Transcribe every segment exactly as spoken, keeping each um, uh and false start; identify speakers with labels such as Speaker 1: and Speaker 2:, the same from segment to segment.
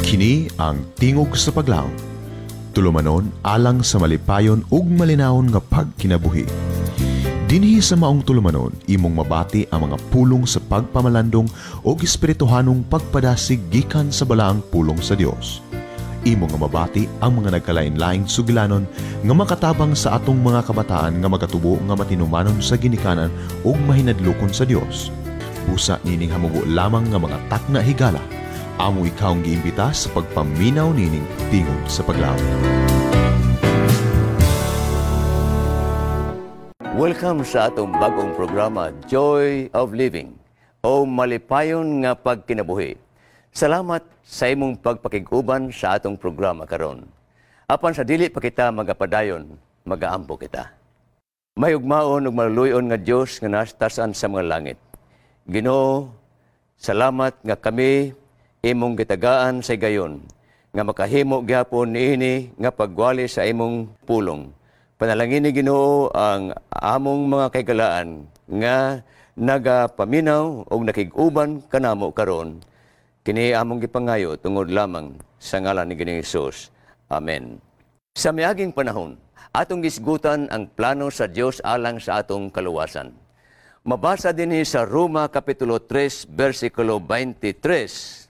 Speaker 1: Kini ang Tingog sa Paglaom. Tulumanon alang sa malipayon ug malinawon nga pagkinabuhi. Dinhi sa maong tulumanon, imong mabati ang mga pulong sa pagpamalandong ug espirituhanong pagpadasig gikan sa balaang pulong sa Dios. Imo nga mabati ang mga nagkalain-laing sugilanon nga makatabang sa atong mga kabataan nga magatubo nga matinumanon sa ginikanan ug mahinadlokon sa Dios. Busa nining hamubo lamang nga mga takna higala. Amo ikaw ang giimbita sa pagpaminaw nining Tingog sa Paglaom.
Speaker 2: Welcome sa atong bagong programa, Joy of Living, o Malipayon nga Pagkinabuhi. Salamat sa imong pagpakig-uban sa atong programa karon. Apan sa dili pa kita magapadayon, magaampo kita. Mahigugmaon ug maluluy-on nga Dios nga nasa sa mga langit. Ginoo, salamat nga kami imong gitagaan sa gayon nga makahimo gyapon niini nga pagwali sa imong pulong. Panalangini, Ginoo, ang among mga kahigalaan nga nagapaminaw og nakig-uban kanamo karon. Kini among gipangayo tungod lamang sa ngalan ni Ginoong Hesus. Amen. Sa miaging panahon, atong gisgutan ang plano sa Dios alang sa atong kaluwasan. Mabasa dinhi sa Roma Kapitulo tres versikulo twenty-three.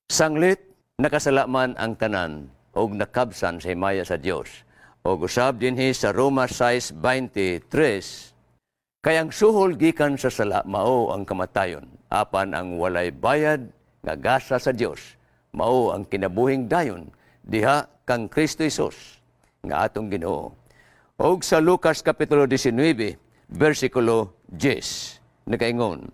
Speaker 2: Sanglit nakasala man ang tanan og nakabsan sa himaya sa Dios. Og usab dinhi sa Roma six twenty-three, kay ang suhol gikan sa sala mao ang kamatayon, apan ang walay bayad nga gasa sa Dios mao ang kinabuhing dayon diha kang Kristo Hesus nga atong Ginoo. Og sa Lucas Kapitulo nineteen versikulo ten, nagaingon,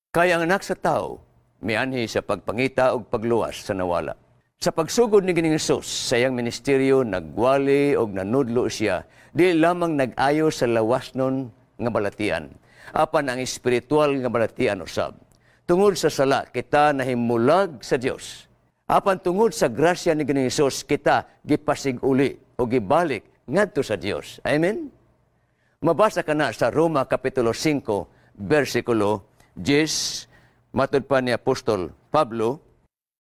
Speaker 2: kay ang Anak sa Tao mianhi sa pagpangita og pagluwas sa nawala. Sa pagsugod ni Ginoong Hesus sa iyang ministeryo, nagwali og nanudlo siya, di lamang nag-ayo sa lawasnon nga balatian, apan ang espiritual nga balatian usab. Tungod sa sala, kita nahimulag sa Dios. Apan tungod sa grasya ni Ginoong Hesus, kita gipasig-uli o gibalik ngadto sa Dios. Amen? Mabasa ka na sa Roma Kapitulo five, versikulo ten, matud pa ni Apostol Pablo,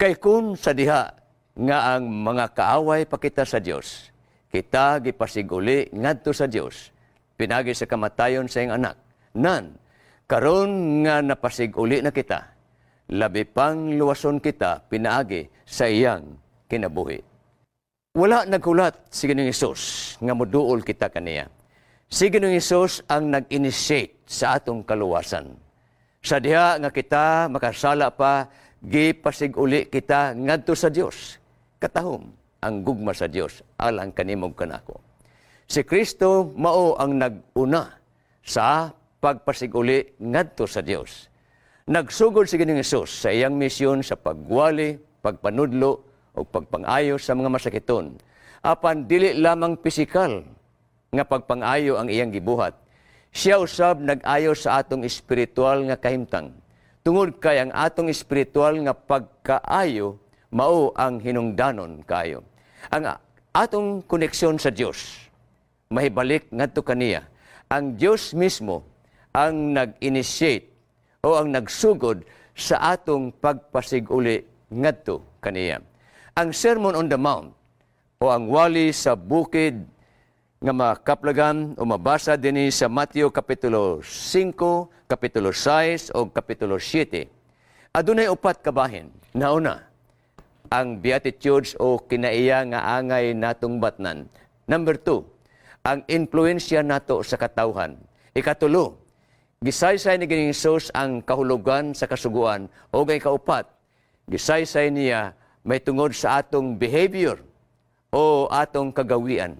Speaker 2: kay kung sa diha nga ang mga kaaway pa kita sa Dios, kita gipasiguli ngadto sa Dios, pinagi sa kamatayon sa iyang anak. Nan, karon nga napasiguli na kita, labi pang luwason kita pinaagi sa iyang kinabuhi. Wala naghulat si Ginoong Hesus nga moduol kita kaniya. Si Ginoong Hesus ang nag-initiate sa atong kaluwasan. Sa diha nga kita makasala pa, gipasig-uli kita ngadto sa Dios. Katahom ang gugma sa Dios alang kanimo kanako. Si Kristo mao ang nag-una sa pagpasig-uli ngadto sa Dios. Nagsugod si Ginoong Hesus sa iyang misyon sa pagwali, pagpanudlo o pagpangayo sa mga masakiton. Apan dili lamang pisikal nga pagpangayo ang iyang gibuhat. Siya usab nag-ayo sa atong espiritual nga kahimtang. Tungod kay ang atong espiritual nga pagkaayo mao ang hinungdanon kayo. Ang atong koneksyon sa Dios mahibalik ngadto kaniya. Ang Dios mismo ang nag-initiate o ang nagsugod sa atong pagpasiguli ngadto kaniya. Ang Sermon on the Mount o ang wali sa bukid nga makaplagan o mabasa dinhi sa Mateo Kapitulo five, Kapitulo six o Kapitulo seven. Adunay upat ka bahin. Nauna, ang Beatitudes o kinaiya nga angay natong batnan. Number two, ang influensya nato sa katawhan. Ikatulo, gisaysay ni Ginoong Hesus ang kahulugan sa kasuguan. O ang ikaupat, gisaysay niya may tungod sa atong behavior o atong kagawian.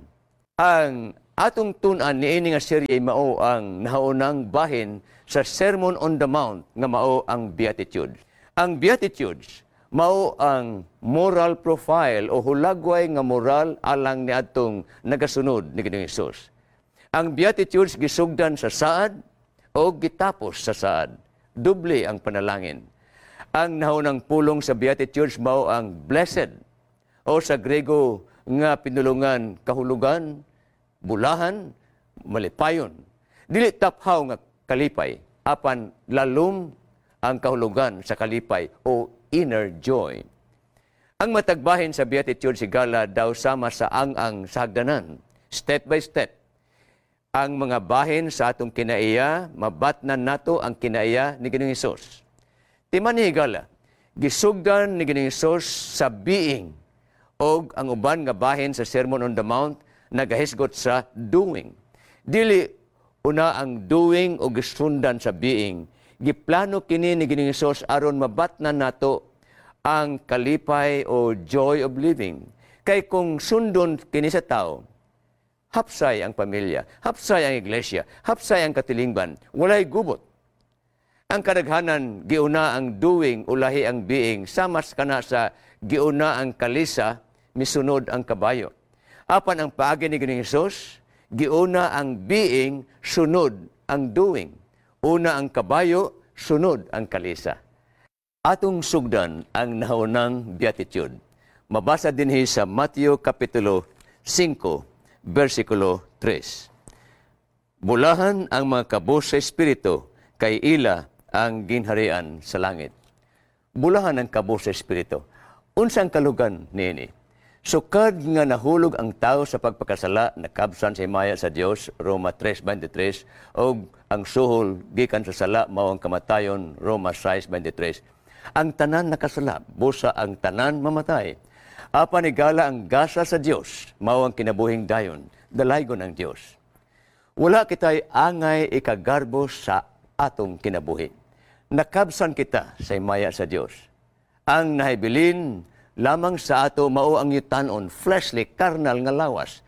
Speaker 2: Ang atong tun-an niini nga serye mao ang nahaunang bahin sa Sermon on the Mount nga mao ang Beatitudes. Ang Beatitudes mao ang moral profile o hulagway nga moral alang niadtong nagasunod ni Ginoong Hesus. Ang Beatitudes gisugdan sa saad o gitapos sa saad. Doble ang panalangin. Ang nahunang pulong sa Beatitudes mao ang blessed o sa Grego nga pinulungan kahulugan, bulahan, malipayon. Dili taphaw nga kalipay, apan lalom ang kahulugan sa kalipay o inner joy. Ang matag bahin sa Beatitudes, higala, daw sama sa ang-ang sa hagdanan, step by step. Ang mga bahin sa atong kinaiya, mabatnan nato ang kinaiya ni Ginoong Hesus. Timan ni, higala, gisugdan ni Ginoong Hesus sa being og ang uban nga bahin sa Sermon on the Mount nagahisgot sa doing. Dili una ang doing o gisundan sa being. Giplano kini ni Ginoong Hesus aron mabatnan nato ang kalipay o joy of living. Kay kung sundon kini sa tao, hapsay ang pamilya, hapsay ang iglesia, hapsay ang katilingban, walay gubot. Ang kadaghanan, giuna ang doing, ulahi ang being, samas kana sa giuna ang kalisa, misunod ang kabayo. Apan ang paagi ni Ginoong Hesus, giuna ang being, sunod ang doing. Una ang kabayo, sunod ang kalisa. Atong sugdan ang nahaunang beatitude. Mabasa dinhi sa Mateo Kapitulo singko, versikulo tres. Bulahan ang mga kabos sa espiritu, kay ila ang ginharian sa langit. Bulahan ang kabos sa espiritu. Unsang kalugan niini? Sukad nga nahulog ang tao sa pagpakasala, nakabsan sa himaya sa Dios, Roma tres twenty-three, og ang suhol gikan sa sala mao ang kamatayon, Roma six twenty-three. Ang tanan nakasala, busa ang tanan mamatay. Apan, higala, ang gasa sa Dios mao ang kinabuhing dayon, dalaygon ang Dios. Wala kita'y angay ikagarbo sa atong kinabuhi. Nakabsan kita sa himaya sa Dios. Ang nahibilin lamang sa ato mao ang yutanon, fleshly, carnal nga lawas.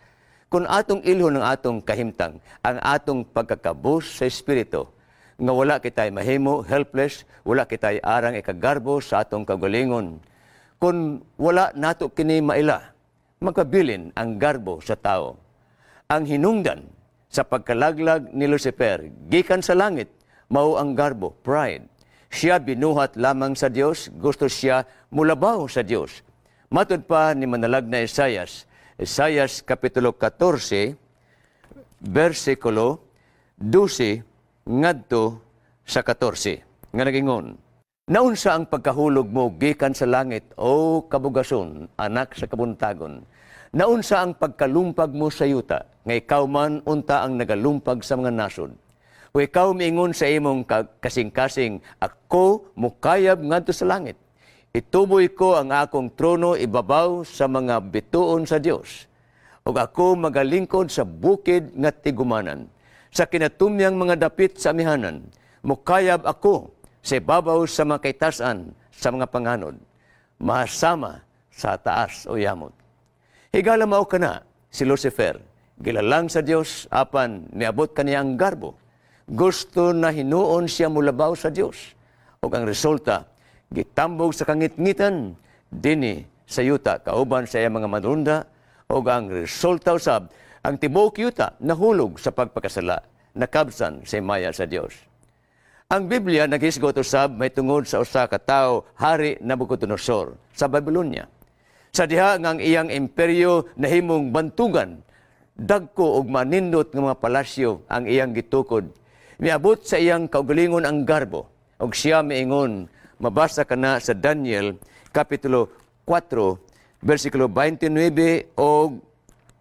Speaker 2: Kung atong ilhon ang atong kahimtang, ang atong pagkakabos sa espiritu, nga wala kita'y mahimo, helpless, wala kita'y arang ikagarbo sa atong kagalingon. Kung wala nato kini maila, magpabilin ang garbo sa tao. Ang hinungdan sa pagkalaglag ni Lucifer gikan sa langit mao ang garbo, pride. Siya binuhat lamang sa Dios, gusto siya mulabaw sa Dios. Matud pa ni manalag na Isayas, Isayas Kapitulo katorse, versikulo dose ngadto sa katorse, nga nagingon, "Naunsa ang pagkahulog mo gikan sa langit, o kabugason, anak sa kabuntagon? Naunsa ang pagkalumpag mo sa yuta, nga ikaw man unta ang nagalumpag sa mga nasod? O ikaw miingon sa imong kasing-kasing, 'Ako mukayab ngadto sa langit. Ituboy ko ang akong trono ibabaw sa mga bituon sa Dios. Ug ako magalingkod sa bukid nga tigumanan, sa kinatumyang mga dapit sa amihanan. Mukayab ako sa ibabaw sa mga kaytasan sa mga panganod. Mahasama sa taas o yamot.'" Higala, mao kana si Lucifer. Gilalang sa Dios, apan miabot kaniya ang garbo. Gusto na hinuon siya mulabaw sa Dios. Ug ang resulta, gitambog sa kangitngitan dinhi sa yuta kauban sa iyang mga manrunda, ug ang resulta usab, ang tibuok yuta nahulog sa pagpakasala, nakabsan sa himaya sa Dios. Ang Biblia naghisgot usab may tungod sa usa ka tawo, Hari Nabucodonosor sa Babylonia. Sa diha nga ang iyang imperyo nahimong bantugan, dagko og manindot nga mga palasyo ang iyang gitukod. Miabot sa iyang kaugalingon ang garbo ug siya miingon, mabasa kana sa Daniel Kapitulo kwatro versikulo twenty-nine og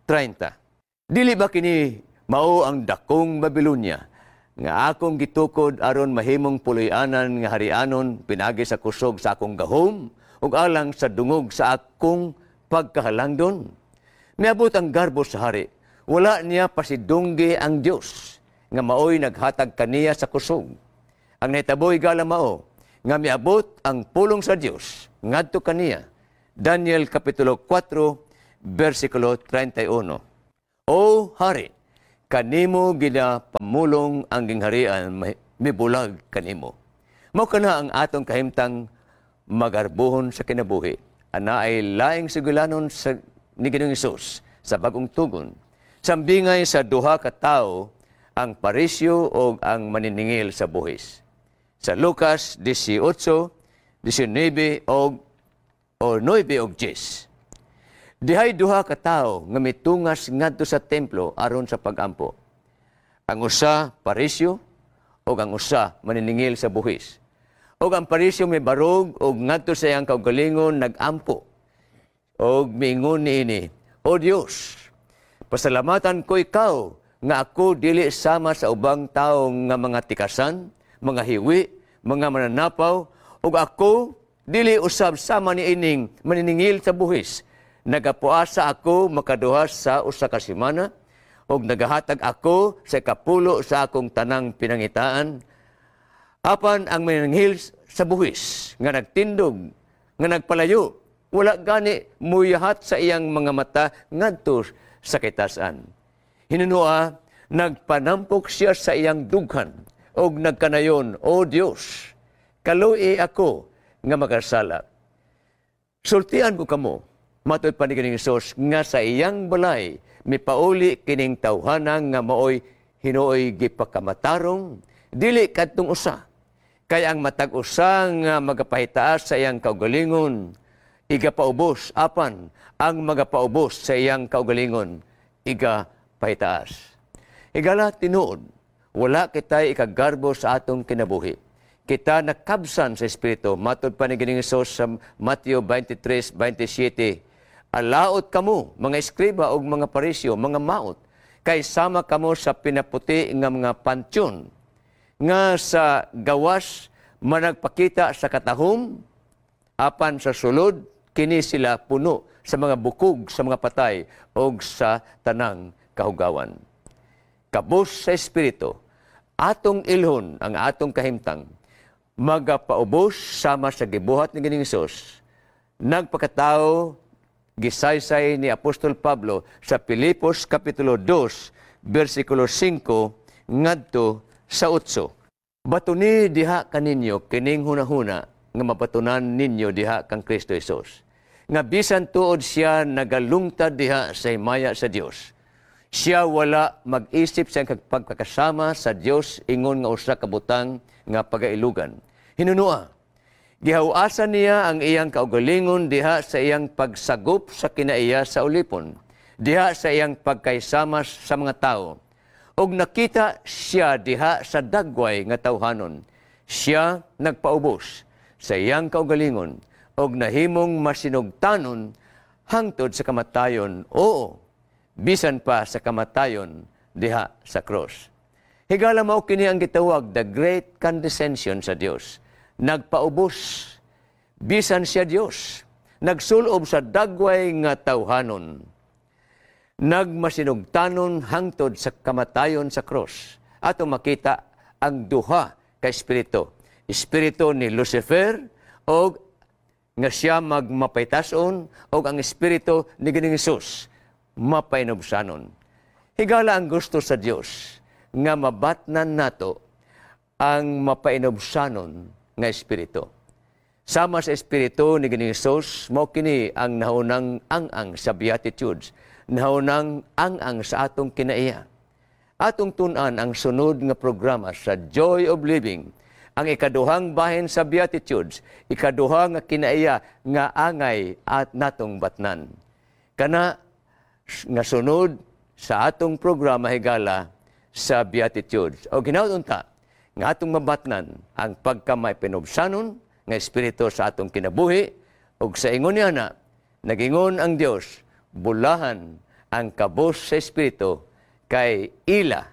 Speaker 2: thirty. "Dili ba kini mao ang dakong Babylonia nga akong gitukod aron mahimong puloy-anan nga harianon pinagi sa kusog sa akong gahom ug alang sa dungog sa akong pagkahalangdon?" Miabot ang garbo sa hari. Wala niya pasidunggi ang Dios nga maoy naghatag kaniya sa kusog. Ang nahitabo, higala, mao nga miabot ang pulong sa Dios ngadto kaniya. Daniel Kapitulo kwatro versikulo trenta y uno. "O hari, kanimo ginapamulong ang gingharian, mibulag kanimo." Mao kana ang atong kahimtang magarbuhon sa kinabuhi. Ana ay laing sugilanon sa ni Ginoong Hesus sa Bagong Tugon. Sambingay sa duha ka tawo, ang Parisyo o ang maniningil sa buhis. Sa Lucas eighteen, nineteen og o nuwebe og diyes. Dihay duha ka tawo nga mitungas ngadto sa templo aron sa pagampo. Ang usa Parisyo ug ang usa maniningil sa buhis. Ug ang Parisyo mibarog ug ngadto sa iyang kaugalingon nagampo. Og miingon niini, "O Dios, pasalamatan ko ikaw nga ako dili sama sa ubang tawo nga mga tikasan, mga hiwi, mga mananapaw, ug ako dili usab sama ni ining maniningil sa buhis. Nagapuasa ako makaduha sa usa ka semana ug nagahatag ako sa ikapulo sa akong tanang pinangitaan." Apan ang maniningil sa buhis nga nagtindog, nga nagpalayo, wala gani muyahat sa iyang mga mata ngadto sa kitasan. Hinunua, nagpanampok siya sa iyang dughan og nagkanayon, "O Dios, kaluoyi ako nga makasala." Sultian ko kamo, matud pa ni Ginoong Hesus, nga sa iyang balay mipauli kining tawhana nga maoy hinuoy gipakamatarong, dili kadtong usa. Kay ang matag usa nga magapahitaas sa iyang kaugalingon, igapaubos, apan ang magapaubos sa iyang kaugalingon, igapahitaas. Higala, tinuod, wala kita'y ikagarbo sa atong kinabuhi. Kita nakabsan sa Espiritu. Matod pa ni Ginoong Hesus sa Mateo twenty-three twenty-seven, "Alaot kamo, mga eskriba ug mga Pariseo, mga maot, kay sama kamo sa pinaputi nga mga pantyon, nga sa gawas managpakita sa katahom, apan sa sulod kini sila puno sa mga bukog sa mga patay og sa tanang kahugawan." Kabos sa Espiritu, atong ilhon ang atong kahimtang, magapaubos sama sa gibuhat ni Ginoong Hesus. Nagpakatao, gisaysay ni Apostol Pablo sa Pilipos Kapitulo two, versikulo five ngadto sa eight. "Batuni diha kaninyo kining hunahuna nga mabatunan ninyo diha kang Kristo Hesus. Nga bisan tuod siya nagalungtad diha sa himaya sa Dios, siya wala mag-isip sa pagkakasama sa Dios ingon nga usa ka butang nga pagailugan. Hinunua, gihawasan niya ang iyang kaugalingon diha sa iyang pagsagop sa kinaiya sa ulipon, diha sa iyang pagkaysama sa mga tao. Ug nakita siya diha sa dagway nga tawhanon. Siya nagpaubos sa iyang kaugalingon ug nahimong masinugtanon hangtod sa kamatayon, oo, bisan pa sa kamatayon diha sa cross." Higala, mao kini ang gitawag the great condescension sa Dios. Nagpaubos bisan siya Dios, nagsulob sa dagway nga tawhanon. Nagmasinugtanon hangtod sa kamatayon sa cross. Ato makita ang duha ka espiritu. Espiritu ni Lucifer og nga siya magmapaytason og ang espiritu ni Ginoong Hesus mapainubsanon. Higala, ang gusto sa Dios nga mabatnan nato ang mapainubsanon nga espiritu. Sama sa espiritu ni Ginoong Hesus, mao kini ang naunang ang-ang sa Beatitudes, naunang ang-ang sa atong kinaiya. Atong tun-an ang sunod nga programa sa Joy of Living, ang ikaduhang bahin sa Beatitudes, ikaduha nga kinaiya nga angay at natong batnan. Kana nga sunod sa atong programa, higala, sa Beatitudes. O ginaw unta nga atong mabatnan ang pagkamaipinubsanon nga espiritu sa atong kinabuhi ug sa ingon niya na nagingon ang Dios, bulahan ang kabos sa espiritu kay ila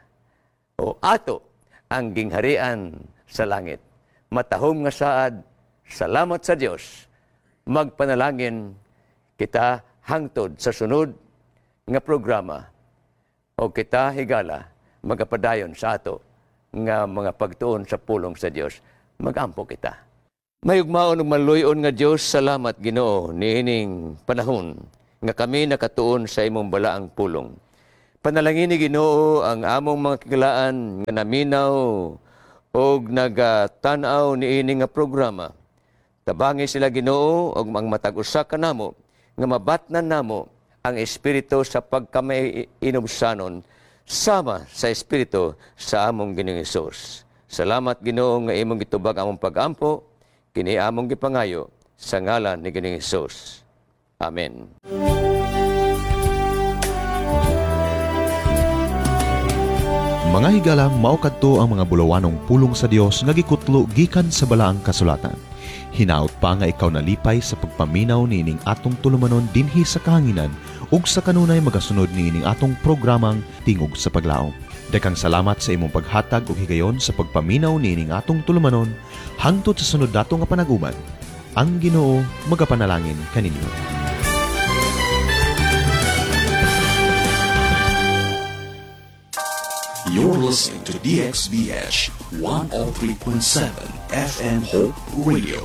Speaker 2: o ato ang gingharian sa langit. Matahom nga saad, salamat sa Dios. Magpanalangin kita hangtod sa sunod nga programa o kita, higala, magapadayon sa ato nga mga pagtuon sa pulong sa Dios. Magampo kita. Mahigugmaon ug maluyon nga Dios, salamat, Ginoo, niining panahon nga kami nakatuon sa imong balaang pulong. Panalangin ni Ginoo ang among mga kahigalaan nga naminaw og nagatan-aw niini nga programa. Tabangi sila, Ginoo, og ang matag usa kanamo nga mabatnan namo ang espiritu sa pagkamay-inubsanon sama sa espiritu sa among Ginoong Hesus. Salamat, Ginoo, nga imong gitubag among pagampo, kini among gipangayo sa ngalan ni Ginoong Hesus. Amen.
Speaker 1: Mga higala, mao kadto ang mga bulawanong pulong sa Dios nga gikutlo gikan sa balaang kasulatan. Hinaot pa nga ikaw nalipay sa pagpaminaw niining atong tulumanon dinhi sa kahanginan ug sa kanunay magasunod niining atong programang Tingog sa Paglaom. Daghang salamat sa imong paghatag og higayon sa pagpaminaw niining atong tulumanon hangtod sa sunod nato nga panag-uban. Ang Ginoo magapanalangin kaninyo.
Speaker 3: You're listening to D X B H one oh three point seven F M Hope Radio.